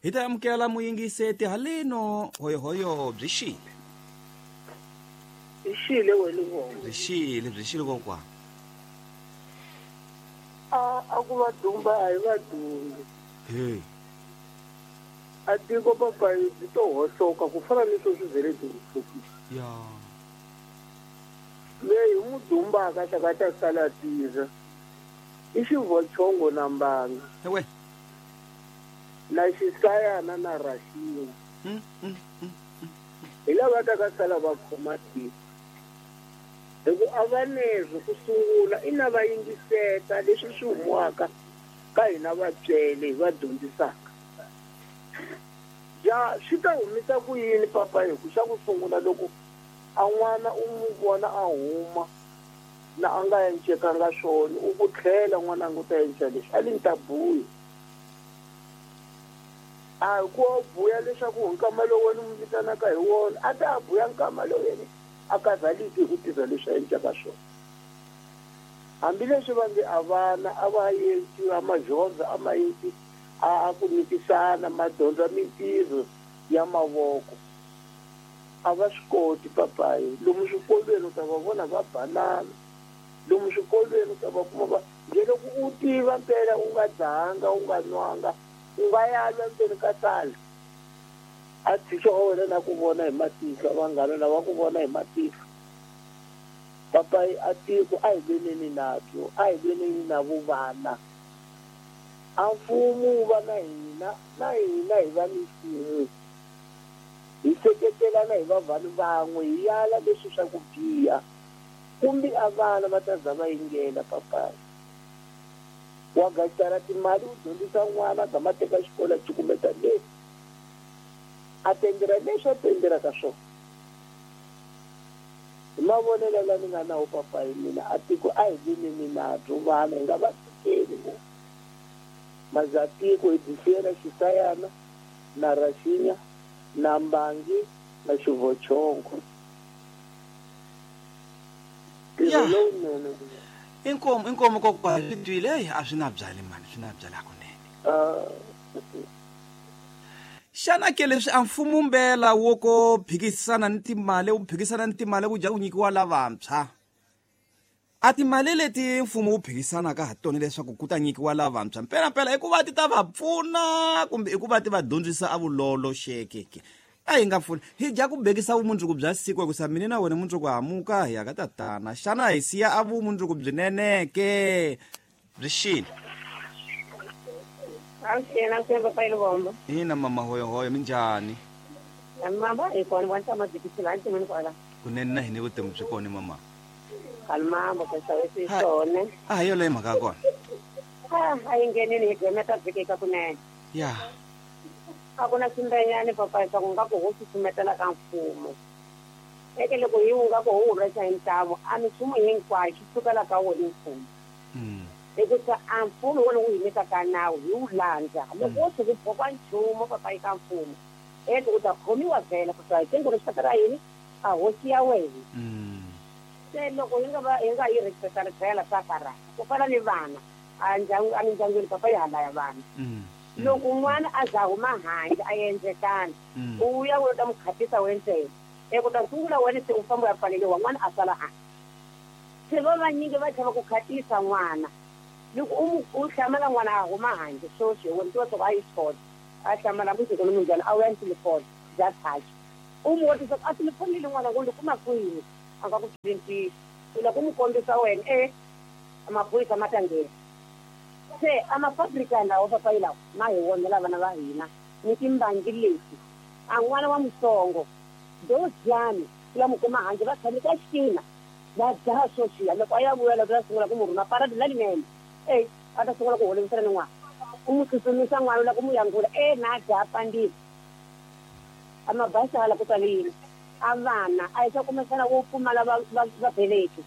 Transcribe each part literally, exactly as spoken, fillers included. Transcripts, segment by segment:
Hi ta amukela muyingiseti haleno hoyohoyo byi xile. Byi xile wena vona. Byi xile, byi xile kokwana. A a ku va dumba a hi va dumbi. Hey. A tiko papa byi to hohloka ku fana ni sweswi vhele byi hohlokile. Ya. Leyi n'wi dumbaka xa ka ta sala tirha. I xivochongo na mbanga. Ewe. Na xisayana na raxiya. Mm, mm, mm, mm. Hi lava ta ka sala va khoma tiko. Hi ku a va nezwi ku sungula i na va yingiseta leswi swi humiwaka ka hina vatswele hi va dyondzisaka. Ja swi ta humisa ku yini papa hi ku xa ku sungula loko a n'wana u n'wi vona a huma na a nga encekanga swona u ku tlhela n'wana a ngo ta enca leswi a li ni ta buya. A ku buya leswaku nkama lowu wena n'wi vitanaka hi wona a ta buya nkama lowu yena a karhaliki hi ku tirha leswi a encaka swona. Hambileswi va nge a vana a va yenci a madyondza a ma yenci a a ku nyikisana madyondza mintirho ya mavoko. A va swi koti papayi lomu swikolweni u ta va vona va banana lomu swikolweni u ta va kuma va nje loko u tiva mpela u nga dzahanga u nga nwanga u nga ya lwa ndzeni ka sala a tshika wa wena na ku vona hi matihlo vanghana lava ku vona hi matihlo. Papayi a tiko a hi lweneni nabyo a hi lweneni na vuvana. A mfumo wu va na hina na hina hi va ni mfumo. Hi seketelana hi va vanhu van'we hi yala leswi swa ku biha kumbe a vana va ta za va yingela papayi. Wa gacara timali u dyondzisa n'wana a gama teka xikolo a cukumeta leswi a tendera leswi a tenderaka swona. Hi mavonelo la ni nga na wo papayi mina a tiko a hi lweneni nabyo vana hi nga va tshikeli ngopfu. Mazatiko hi byi siyela xisayana na raxinya na mbangi na xivochongo. Ya. Lowunene. Inkomo inkomo kokwana swi twile eyi a swi na byali mani swi na byali hakunene. Xana ke leswi a mfumo mbela wo ko phikisana ni timali wu phikisana ni timali ku dya ku nyikiwa lavantshwa. A timali leti mfumo wu phikisanaka ha tona leswaku ku ta nyikiwa lavantshwa mpela mpela i ku va ti ta va pfuna kumbe i ku va ti va dyondzisa a vulolo xekeke. A hi nga pfuni hi dya ku bekisa vumundzuku bya siku hikusa mina na wena mundzuku hamuka hi ya ka tatana. Xana hi siya a vumundzuku byinene-ke byi xile? Avuxeni, avuxeni papa Luvombo. Ina mama hoyohoyo minjhani? Mama hi kona vona tshama byi la nsin'wini kwala. Kunene na hina vutomi byi kona mama. Kalmambo ka xavisi swona. A hi yoleyo mhaka ya kona. Ah, a yi nghenini hi gqemeta vhiki eka kunene. Ya. A ku na swimbenyani papa swa ku nga ku ho susumetela ka mfumo. Eke loko hi wu nga ku ho rhwexa hi ntamu a minchumu hinkwayo xi sukela ka wona mfumo. Mm. Hikusa a mfumo wona wu hi nyikaka nawu hi wu landza. Loko wo tshuka u boka nchumu papa eka mfumo eke u ta khomiwa vhela ku hi tingo rixaka ra yini a hosi ya wena. Mm. Se loko hi nga va hi nga yi respecta tlhela swa karhata ku fana ni vana a ndyangu a mindyangwini papa yi hala ya vana. Mm. Loko n'wana a za huma handle a endlekana u ya u ta n'wi khatisa wena ntsena eku ta sungula wena se u famba u ya pfaleriwa n'wana a sala handle. Se va vanyingi va chava ku khatisa n'wana loko u mu u hlamala n'wana a huma handle sweswi wena tiva swa ku a yi xikolo a hlamala mundzuku ni munjhani a wu ya ni telefoni bya touch u mu vutisa ku a telefoni leyi n'wana ku ni kuma kwini a nga ku byeli ntiyiso u lava ku n'wi kombisa wena e maphorisa ma ta nghena. Se a mafabrika lawa papayi lawa ma hi onhela vana va hina ni timbangi leti a n'wana wa mutsongo doziyani u ya n'wi kuma handle va tshame ka xitina va dzaha sweswiya loko a ya vuya loko ya sungula ku n'wi rhuma paradi lalinene e a ta sungula ku holovisana ni n'wana u n'wi tsutsumisa n'wana u lava ku n'wi yangula e na dzaha pandile a mabasi hala ku tale yini a vana a hi swa kumbexana wo pfumala va va vabeleki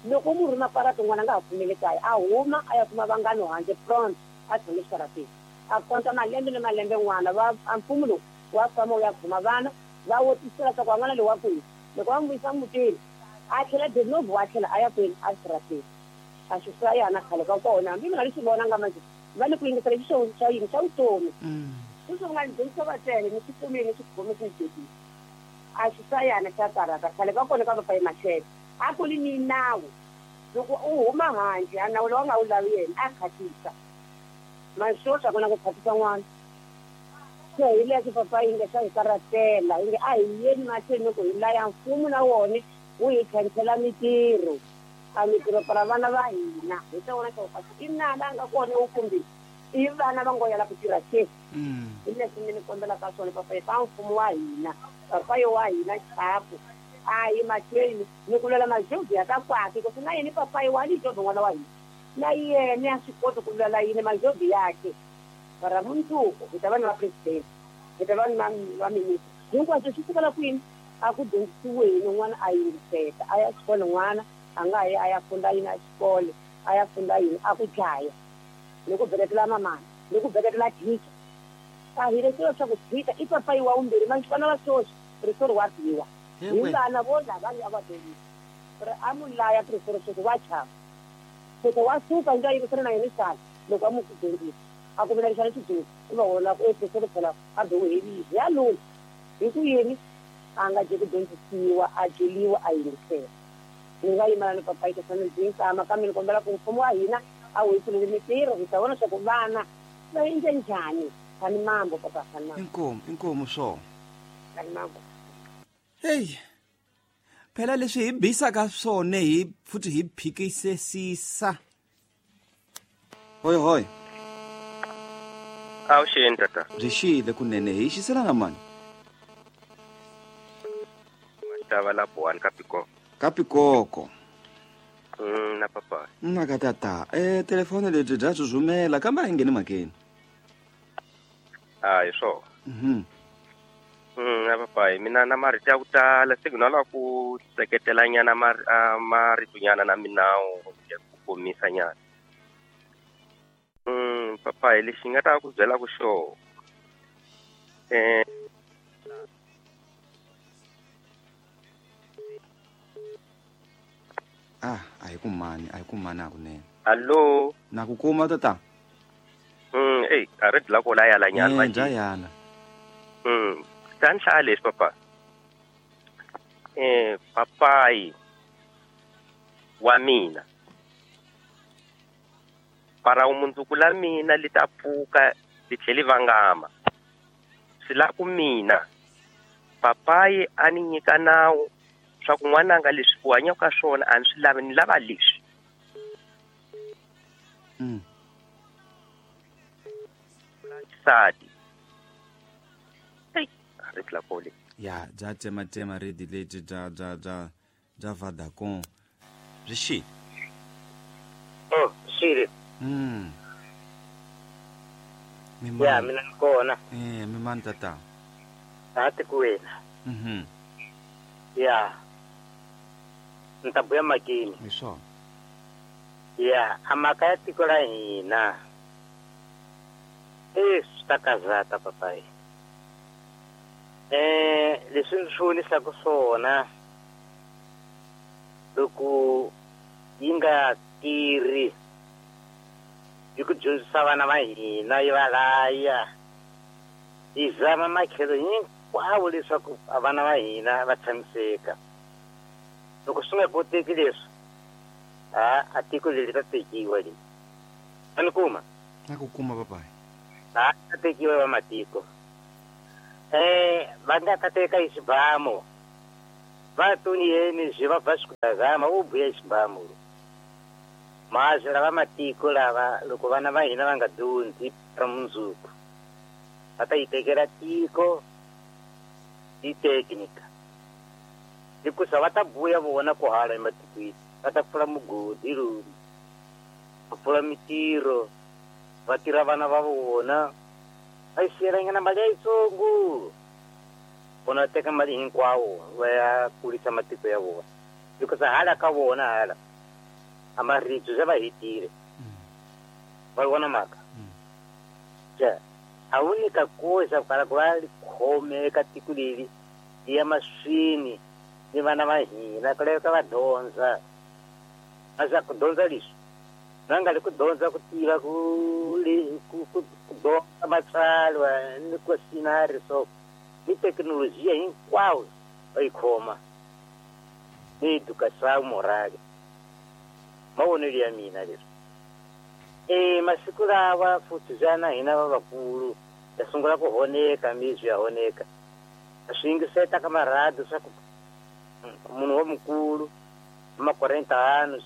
loko mu rhuma parati n'wana a nga ha pfumeli kaya a huma a ya kuma vanghana handle front a tshame xitarateni a konta malembe ni malembe n'wana va a mfumo lowu wa famba wu ya khoma vana va wotisela swa ku n'wana loyi wa kwihi loko va n'wi vuyisa mutini a tlhela de novo a tlhela a ya kwini a xitarateni a swi swa yana khale ka kona hambi mina ni swi vonanga manje va ni ku yingisela xi swa yini swa vutomi. Sweswi u nga ni dyondzisa vatsele ni swi kumile ni swi khome swi ni dyekile. A xi sayana xa karata khale ka kona ka papayi Mashele a ku ri ni nawu loko u huma handle a nawu lowu a nga wu lavi yena a khatisa maswoswi a ku na ku khatisa n'wana. Se hi leswi papayi yi nge swa hi karatela yi nge a hi yeni mahlweni loko hi laya mfumo na wona wu hi khansela mitirho a mitirho para vana va hina hi ta vona swa ku i nala a nga kona wu kumbe i vana va ngo yala ku tirha ke. Hi leswi mi ni kombelaka swona papayi pa mfumo wa hina papayi wa hina chapu a yi mahlweni ni ku lwela majozi ya ka kwakhe kasi na yini papayi wa lijozi n'wana wa hina na yena a swi koti ku lwela yini majozi yakhe para mundzuku hi ta va ni va president hi ta va ni va minister hinkwaswo swi sukela kwini a ku dyondzisiweni n'wana a yingiseta a ya xikolo n'wana a nga yi a ya funda yini a xikolo a ya funda yini a ku dlaya ni ku beketela mamana ni ku beketela thicha a hi leswi swa ku thicha i papayi wa vumbirhi manjhe va sweswi prisori wa biwa hi vana vo lava a va dyondzisa ri a mu laya prisori sweswi wa chava sweswi wa suka ndza yingisela na yena xana loko a mu dyondzisa a ku vula xana xidyondzi i va vona ku e prisori phela a be helile ya lula hi ku yini a nga je ku dyondzisiwa a dyeliwa a yingisela. Ni nga yimela ni papayi ka sani byi nkama kambe ni kombela ku mfumo wa hina a wu hi pfuleli mitirho hi ta vona swa ku vana va endle njhani. Kani mambo papa kani mambo. Inkomu inkomu swo. Kani mambo. Hey. Phela leswi hi bisaka swona hi futhi hi phikisesisa. Hoi hoi. Awu xini tata. Byi xile kunene hi xisela na mani. Tava la buwani ka Pikoko. Ka Pikoko. Mm, na papa. Na ka tata. Eh telefoni lebyi bya zuzumela kambe a yi ngheni mhakeni. Ah, hi swona. Mhm. Mm, na papayi mina na marito ya ku tala signal la ku seketela nyana marito nyana na minawu ya ku komisa nyana. Mm, papayi lexi nga ta ku byela ku xo. Eh Ah, a hi kumani, a hi kumani hakunene. Allo. Na ku kuma tata. Mm, ey, a ri dla ko la yala nyana manje. Eh, yala. Mm, tan hlaya leswi papa. Eh, papayi wa mina. Para mundzuku la mina li ta pfuka li tlheli vangama. Swi la ku mina papayi a ni nyika nawu swa ku n'wananga leswi u hanyaka ka swona a ni swi lavi ni lava leswi. Mm. Sadi. Hey, ri tla kole. Ya, bya tematema redi leti bya bya bya bya Vodacom. Byi xile. Oh, xile. Mm. Ya, mina ni kona. Eh, mimani tata. A tikweni. Mhm. Ya. Ni ta buya makini. Hi swona. Ya, a mhaka ya tiko ra hina. Eh, swi ta kazata papayi. Eh, leswi ndzi swi vonisaka swona loko yi nga tirhi yi ku dyondzisa vana va hina yi va laya yi zama matlhelo hinkwawo leswaku vana va hina va tshamiseka. Loko swi nga koteki leswi a a tiko leri ta tekiwa leri. A ni kuma? Na ku kuma papayi. A ta tekiwa va matiko. Eh, va nga ta teka hi xibamu. Va tuni yeni swi va ba swi u buya xibamu. Mazwi lava matiko lava loko vana va hina va nga dyondzi ra mundzuku va ta yi tekela tiko hi teknika. Hikusa va ta buya vona ku hala ematikweni va ta pfula mugodi lomu va pfula mitirho va tirha vana va vona va yi siyelanyana mali ya yitsongo vona va teka mali hinkwawo va ya kurisa matiko ya vona hikusa hala ka vona hala a maribye se va hetile. Va vona mhaka ja a wu nyika koxa ku kala ku va khome eka tiko leri yi ya maswini ni vana va hina ku laveka va dyondza a swa ku dyondza leswi Va nga li ku dyondza ku tiva ku ku ku dyondza matsalwa ni ku sinari so ni thekinolojiya hinkwawo va yi khoma ni educação moral mavonelo ya mina leswi e masiku lawa futhi jana hina va vakulu ya sungula ku honeka mizwi ya honeka swi yingiseta ka marhadi swa ku munhu wa mukulu ma quarenta anos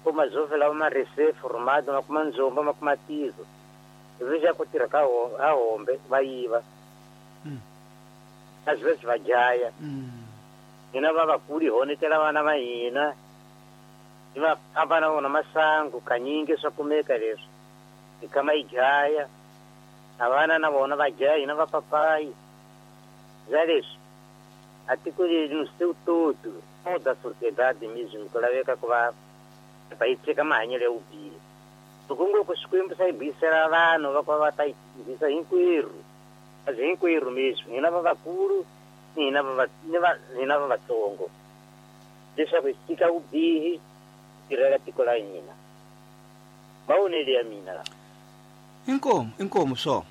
o majovem lá uma rece formado ma kuma nzomba ma kuma tizo veja ku tirha ka a hombe va yiva às vezes va jaya hina va vakulu hi honetela vana va hina hi va famba na vona masangu kanyingi swa kumeka leswi hi kama hi jaya a vana na vona va jaya hina va papayi za leswi a tiko leri no seu todo toda a sociedade mesmo ku laveka ku va va yi tshika mahanyelo ya vubihi loko ngo ku Xikwembu xa yi buyisela vanhu va ku va ta yi tirhisa hinkwerhu kasi hinkwerhu mesmo hina va vakulu ni hina va hina va vatsongo leswaku hi tshika vubihi tirhela tiko la hina mavonelo ya mina la inkomu inkomu swo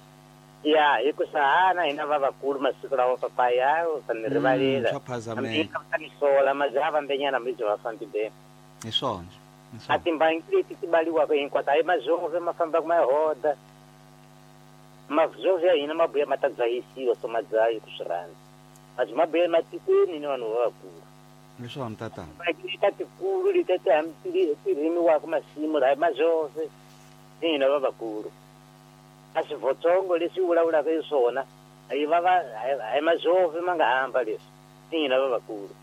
ya hi ku sahana hina va vakulu masiku lawa papaya u ta ni rivalela swa phazameka ta ni sola majaha vambenyana mibyo va fambi be hi swona a timbangi leti ti baliwaka hinkwato a hi mazove ma fambaka ma hoda mazove ya hina ma buya ma ta dzahisiwa so ma dzahi ku swi rhandza mabyi ma buya ematikweni ni vanhu va vakulu hi swona tatana timbangi leta tikulu leti ti ti rimiwaka masimu laha hi mazove ni hina va vakulu a swivotsongo leswi vulavulaka hi swona a yi va va a hi mazove ma nga hamba leswi ni hina va vakulu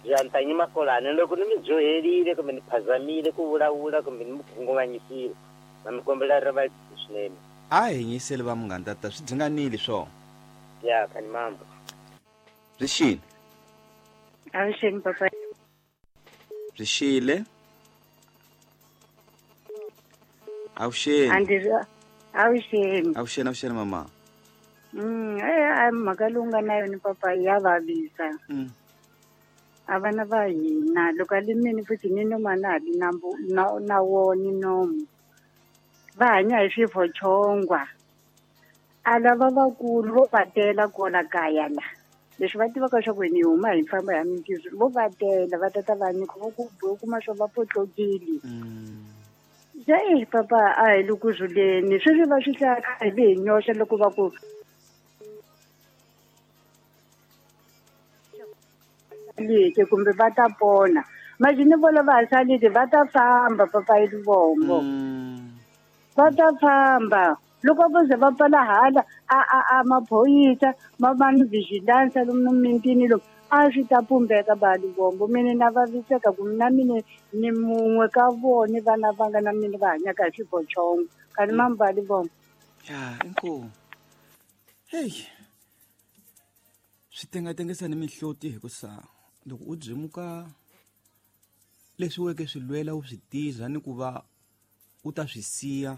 ya makolani loko ni mi dyoherile kumbe ni phazamile ku vulavula kumbe ni mi khunguvanyisile na mi kombela rivalelo swinene a hi nyiseli va munghana tata swi dzinganile swona ya kani mambo byi xile avuxeni papa byi xile avuxeni avuxeni avuxeni avuxeni mama mm eh a mhaka lowu nga na yona papa ya vavisa mm. A vana va hina loko a limini futhi ni noma na ha li na na na wona nomu va hanya hi swivochongwa a lava vakulu vo va tela kwala kaya la leswi va tivaka swa ku ni huma hi famba ya mintirho vo va tela va tata va nyika vo ku u kuma swo va potlokile se e papa a hi le ku zuleni sweswi va swi hlaya hi le hi nyoxa loko va ku leke kumbe va ta pona majini vona va ha salile va ta famba papa hi Livombo va ta famba loko vo ze va pfala hala a a a maphorisa ma va ni vigilance lomu mintini lomu a swi ta pumbeka ba Livombo mina na vaviseka ku na mina ni mun'we ka vona vana va nga na mina va hanyaka hi swivochongo kani mamba Livombo ya inkomu hey swi tengatengisa ni mihloti hi ku sa loko u byimuka leswi weke swi lwela u swi tiza ni ku va u ta swi siya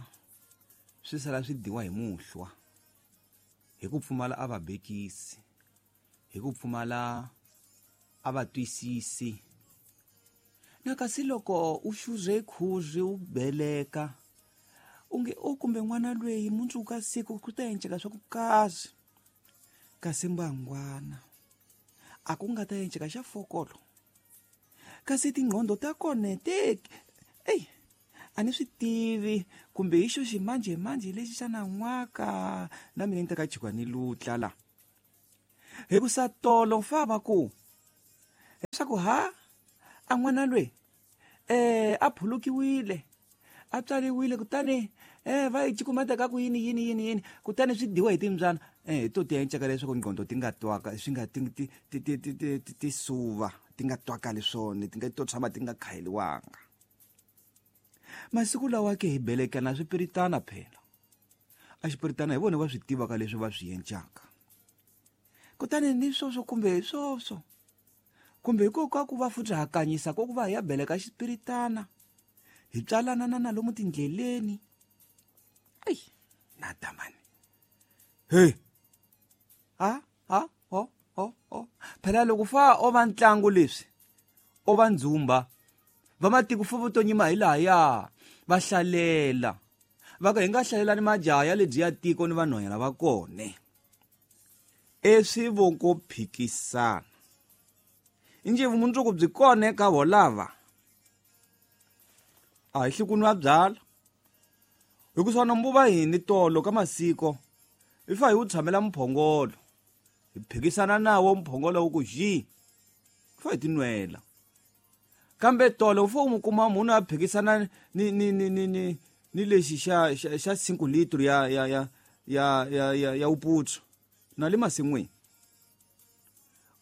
swi sala swi diwa hi muhlwa hi ku pfumala a va bekisi hi ku pfumala a va twisisi na kasi loko u xuze khuzi u beleka unge o kumbe n'wana lweyi mundzuku ka siku ku ta enceka swa ku kazi kasi mbangwana a ku nga ta enceka xa fokolo kasi tingqondo ta kona te ey a ni swi tivi kumbe hi xo ximanjhemanjhe lexi xa nan'waka na mina ni ta ka chikwa ni lutla la hi ku sa tolo fa va ku leswaku ha a n'wana lweyi eh a phulukiwile a tswariwile kutani eh va yi cikumeta ka ku yini yini yini yini kutani swi diwa hi timbyana eh to ti enceka leswaku ngqondo ti nga twaka swi nga ti ti ti ti ti ti suva ti nga twakali swona ti nga to tshama ti nga khayeliwanga masiku lawa ke hi belekana swipiritana phela a xipiritana hi vona va swi tivaka leswi va swi encaka kutani ni swoswo kumbe hi swoswo kumbe hikokwalaho ku va futhi hakanyisa ko ku va hi ya beleka xipiritana hi tswalana na na lomu tindleleni ai na damani hey ha ha ho ho ho phela loko fa o va ntlangu leswi o va ndzumba Vamatiko fo vo to nyima hi lahaya va hlalela. Va ka hi nga hlalelani majaha ya lebyi ya tiko ni vanhwanyana va kone. Eswi vo ko phikisana. Inje vumundzuku byi kona eka volava. A hi hli ku nwa byala. Hikusa na mbuva hini tolo ka masiko. Hi fa hi wu tshamela mphongolo. Hi phikisana nawo mphongolo wu ku ji. Fa hi tinwela. Kambe tolo fo mu kuma munhu a phikisana ni ni ni ni ni ni lexi xa xa cinco litro ya ya ya ya ya ya ya uputsu. Na le masin'wini.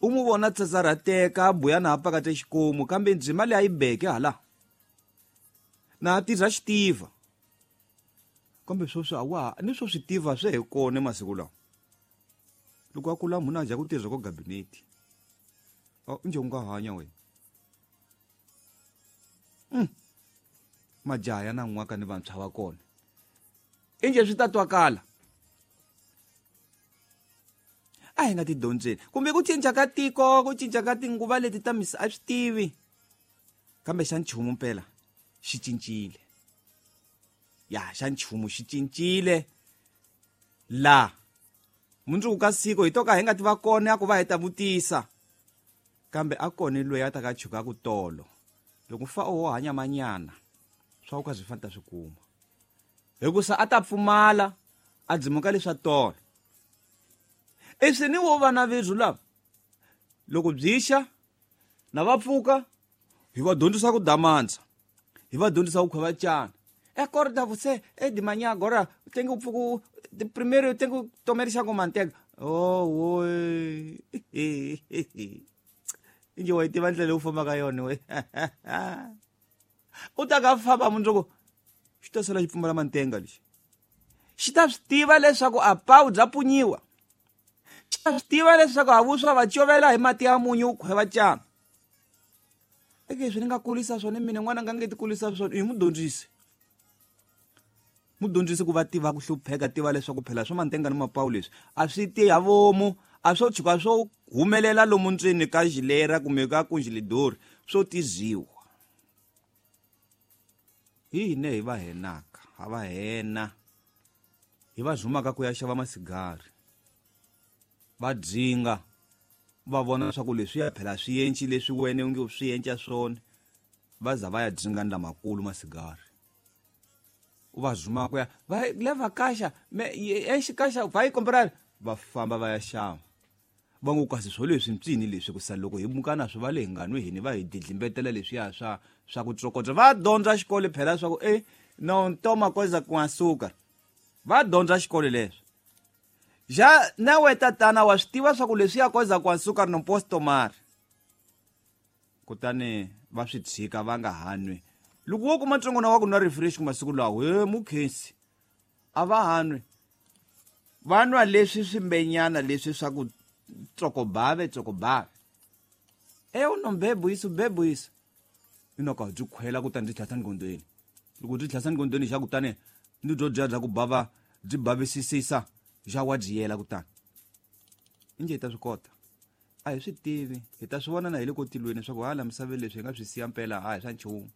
U mu vona tsatsarateka buya na pakata xikomu kambe ndzima leyi a yi beke hala. Na tirha xitiva. Kambe sweswi a wa ni swo swi tiva swe hi kona masiku lawa. Loko a kula munhu a dya ku tirha ko gabinete. A nje u nga hanya wena. Mm. Majaha ya nan'waka ni vantshwa va kona. Inje swi ta twakala. A hi nga ti dyondzeni. Kumbe ku cinca ka tiko, ku cinca ka tinguva leti ta misa a swi tivi. Kambe xa nchumu mpela xi cincile. Ya xa nchumu xi cincile. La mundzuku ka siku hi to ka hi nga ti va kona ku va hi ta vutisa. Kambe a kona loyi a ta ka chuka ku tolo. Loko fa o hanya manyana swa ku ka swi fanta swi kuma. Hikusa a ta pfumala a dzimuka leswa tolo. Eswi ni wo vana vethu lava loko byi xa na va pfuka hi va dyondzisa ku damandza, hi va dyondzisa ku khwavacana. Acorda você é de manhã agora tem que o primeiro eu tenho que tomar chá com manteiga. Oh oi. Inje wa tiva ndlela u famba ka yona we. U ta ka famba mundzuku xi ta sala xi pfumala mantenga lexi. Xi ta swi tiva leswaku a pawu bya punyiwa. Xi ta swi tiva leswaku a vuswa va covela hi mati ya munyu u khweva cana. Eke swi ni nga kulisa swona mina n'wana nga nge ti kulisa swona hi mudyondzisi. Mudyondzisi ku va tiva ku hlupheka tiva leswaku phela swa mantenga ni mapawu leswi a swi ti ha vomu a swo tshuka swo humelela lomu ndzeni ka xilera kumbe ka kunjilidori swo tiziwa. Hi hine hi va henaka ha va hena hi va zumaka ku ya xava masigari va dzinga va vona swa ku leswi ya phela swi enci leswi wena u nge swi enca swona va za va ya dzinga ni lamakulu masigari. U va zuma ku ya va leva kasha me enche kasha vai comprar va famba va ya xava. Va ngo kasi swo leswi mpsini leswi ku sala loko hi muka na swi va le hi nga nwi hini va hi didlimbetela leswiya swa swa ku tsokotsa. Va dyondza xikolo phela swa ku eh não toma coisa com açúcar. Va dyondza xikolo leswi. Já na we tatana wa swi tiva swa ku leswiya coisa com açúcar não posso tomar. Kutani va swi tshika va nga ha nwi. Loko wo kuma ntsongwana wa ku nwa refresh ku masiku lawa he mukhensi a va ha nwi. Va nwa leswi swimbenyana leswi swa ku tsokobave tsokobave. Eu não bebo isso, bebo isso. Ina ka byi khwela kutani byi tlhasa ngondweni. Loko byi tlhasa ngondweni xa kutani ni byo dya bya ku bava byi bavisisisa xa wa dyiyela kutani. Inje hi ta swi kota. A hi swi tivi, hi ta swi vona na hi le kotilweni swa ku hala misaveni leswi hi nga swi siya mpela a hi swa nchumu.